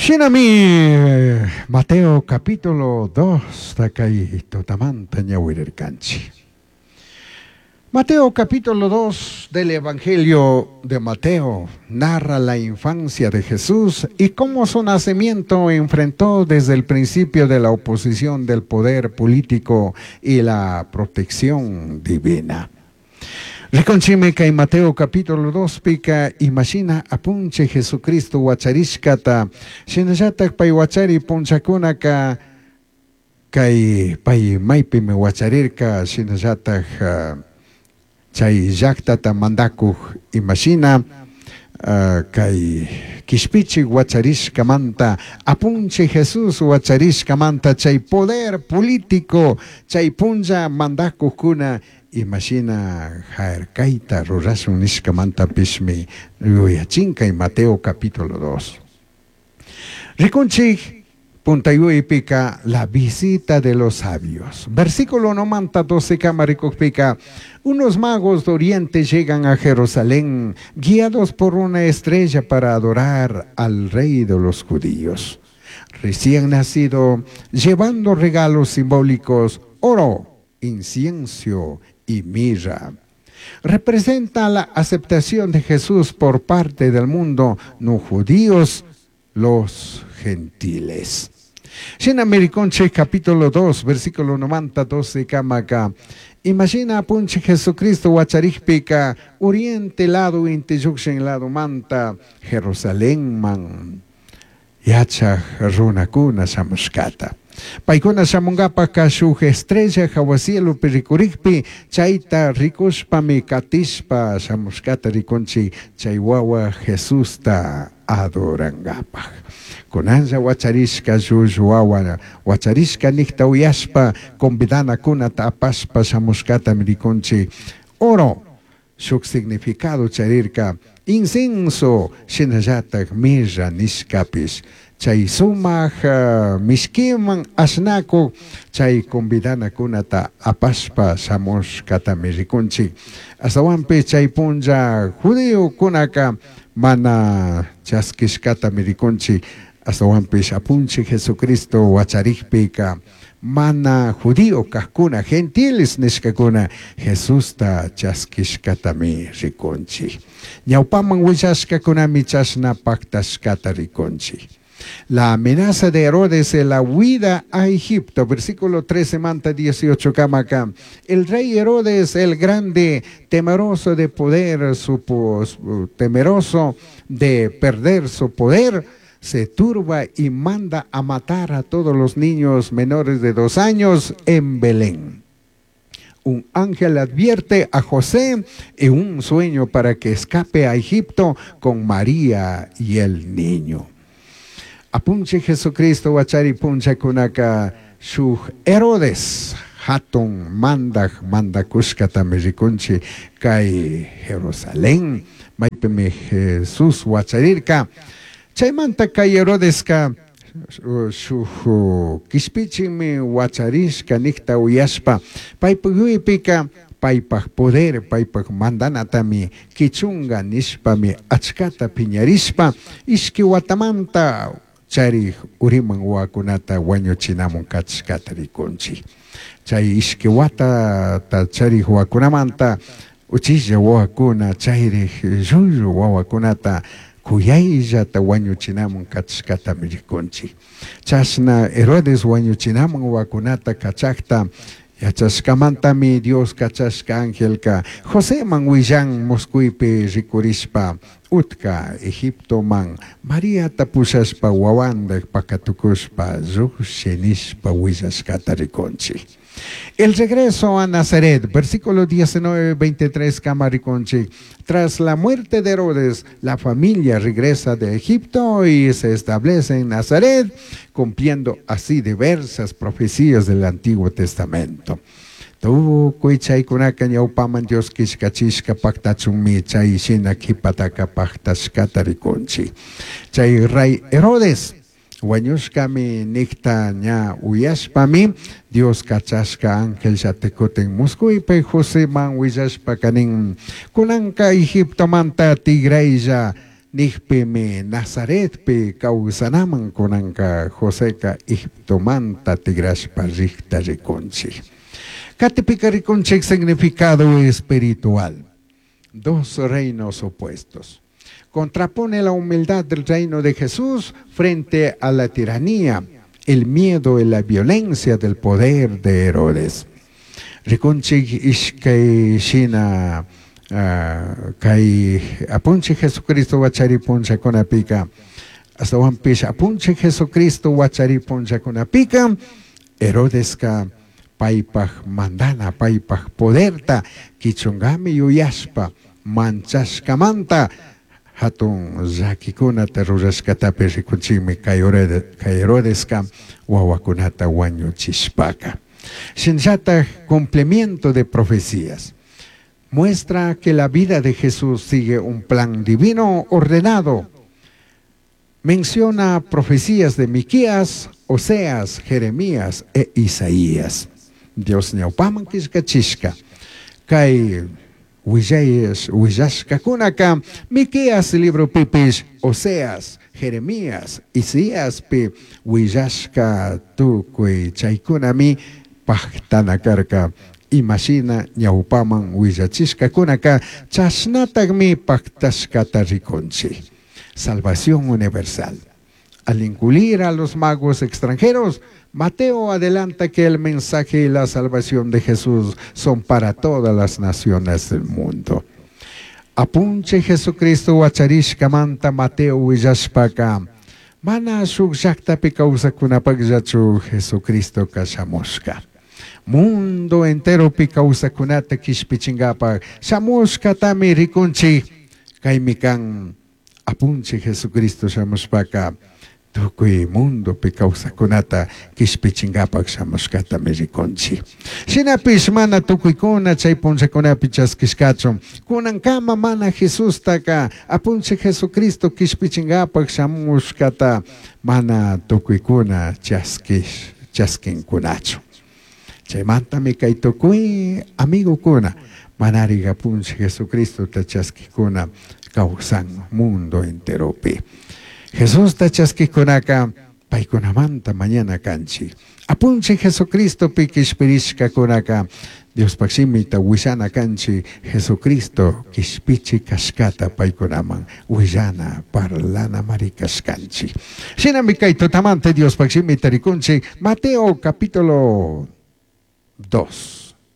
Shinami Mateo capítulo 2 kay tutamanta ñawirirkanchik. Mateo capítulo 2 del Evangelio de Mateo narra la infancia de Jesús y cómo su nacimiento enfrentó desde el principio de la oposición del poder político y la protección divina. Rikunchikmi kay Mateo capítulo 2 pika imashina apunchik Jesucristo huacharishkata shinallatak pay huachari punchakunaka kay pay maypimi huacharirka shinallatak chay llaktata mandakuk imashina kay kishpichik huacharishkamanta apunchik Jesús huacharishkamanta chay poder político chay punlla mandakukuna imashina harkayta rurashun nishkamantapishmi yuyachin kay Mateo capítulo 2. Rikunchik puntayuypika la visita de los sabios. Versículo 1 12 kama rikukpika unos magos de oriente llegan a Jerusalén guiados por una estrella para adorar al rey de los judíos. Recién nacido, llevando regalos simbólicos, oro, incienso y mirra. Representa la aceptación de Jesús por parte del mundo, no judíos, los gentiles. Shinami rikunchik capítulo 2, versículo 90, 12 kamaka. Imashina apunchik Jesucristo huacharikpika oriente lado inti llukshin lado manta Jerusalén man yachaj runakuna shamushkata. Paykuna shamunkapaka shuk estrella jahua cielopi rikurikpi chayta rikushpami katishpa shamushkata rikunchik chay wawa Jesusta adorankapak. Kunanlla huacharishka llullu wawa huacharishka nikta uyashpa convidanakunata apashpa shamushkatami rikunchik. Oro shuk significado charirka incienso shinallatak mirra nishkapish chay sumak mishkiman ashnakuk chay convidanakunata apashpa shamushkatami rikunchik. Ashtawanpish chay punlla judiokunaka mana chaskishkatami rikunchik. Ashtawanpish apunchik Jesucristo huacharikpika mana judío kajkuna gentiles nishkakuna Jesusta chaskishkatami rikunchik. Ñawpaman willashkakunami chashna paktashkata rikunchik. La amenaza de Herodes en la huida a Egipto, versículo 13 manta 18 kamaka. El rey Herodes el Grande, temeroso de poder, su, temeroso de perder su poder, se turba y manda a matar a todos los niños menores de 2 años en Belén. Un ángel advierte a José en un sueño para que escape a Egipto con María y el niño. Apunchik Jesucristo huachari punchakunaka shuk Herodes hatun mandak mandakushkatami rikunchik kay Jerusalén maypimi Jesús huacharirka. Chaymanta kay Herodeska shuk kishpichikmi huacharishka nikta uyashpa paypak yuypika paypak poder paypak mandanatami kichunga nishpami achkata piñarishpa ishki watamanta charik uriman wawakunata wañuchinamun kachishkata rikunchik. Chay ishki watata charik wawakunamanta uchilla wawakuna chayrik llullu wawakunata kuyayllata wañuchinamun kachishkatami rikunchik. Chashna Herodes wañuchinamun wawakunata kachakta yachashkamantami Dios kachashka angelka Joseman willan muskuypi rikurishpa utka Egiptoman Mariata pushashpa wawandak pakatukushpa llukshin nishpa willashkata rikunchik. El regreso a Nazaret, versículo 19, 23, kama rikunchik. Tras la muerte de Herodes, la familia regresa de Egipto y se establece en Nazaret, cumpliendo así diversas profecías del Antiguo Testamento. Tukuy chaykunaka ñawpaman Dios killkachishka paktachunmi chay shina kipataka paktashkata rikunchik. Chay rey Herodes wañushkami nikta ña uyashpami Dios kachashka ángel llatikuten muskuypi Joseman willashpa kanin kunanka Egiptomanta tigraylla Nijpimi Nazaretpi causanaman cunanca Joseca Egiptomanta tigrashpa rijta ricunchij. Catipica ricunchij significado espiritual. Dos reinos opuestos. Contrapone la humildad del reino de Jesús frente a la tiranía, el miedo y la violencia del poder de Herodes. Ricunchij ishkay shina kay Apunchij Jesucristo huachari punllakunapika, ashtahuanpish Apunchij Jesucristo huachari punllakunapika, Herodeska paipaj mandana, paipaj poderta quichungami yuyashpa manchashcamanta jatun llaquicunata rurashcatapish ricunchijmi kay Herodeska huahuacunata huañuchishpaca. Shinallataj cumplimiento de profecías. Muestra que la vida de Jesús sigue un plan divino ordenado. Menciona profecías de Miqueas, Oseas, Jeremías e Isaías. Dios ñaupaman quillcachishca. Kay huillashcacunaka Miqueas libropipish, Oseas, Jeremías, Isaíaspi huillashca tucui chaicunami pajtana carca. Imashina ñaupaman huillachishcacunaka chashnatajmi pajtashcata ricunchij. Salvación universal. Al incluir a los magos extranjeros, Mateo adelanta que el mensaje y la salvación de Jesús son para todas las naciones del mundo. Apunchij Jesucristo huacharishcamanta Mateo huillashpaca, mana shuj llajtapi causacunapajllachu Jesucristoca shamushca. Mundo enteropi causacunata quishpichingapaj shamushcatami ricunchij. Caimi can Apunchij Jesucristo shamushpaca tucui mundopi causacunata quishpichingapaj shamushcatami ricunchij. Shinapish mana tucuicuna chai punllacunapi chasquishcachu. Cunancama mana Jesustaca Apunchij Jesucristo quishpichingapaj shamushcata mana tucuicuna chasquincunachu. Chaimantami cai tucui amigocuna manari Apunchij Jesucristota chasquijcuna causan mundo enteropi. Jesusta chasquijcunaca paicunamanta mañana canchij. Apunchij Jesucristopi quishpirishcacunaca Diospaj shimita huillana canchij Jesucristo quishpichi cashcata paicunaman huillana parlana mari cashcanchij. Shinami cai tutamanta Diospaj shimita ricunchij Mateo capítulo 2.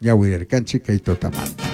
Ñahuirircanchij cai tutamanta.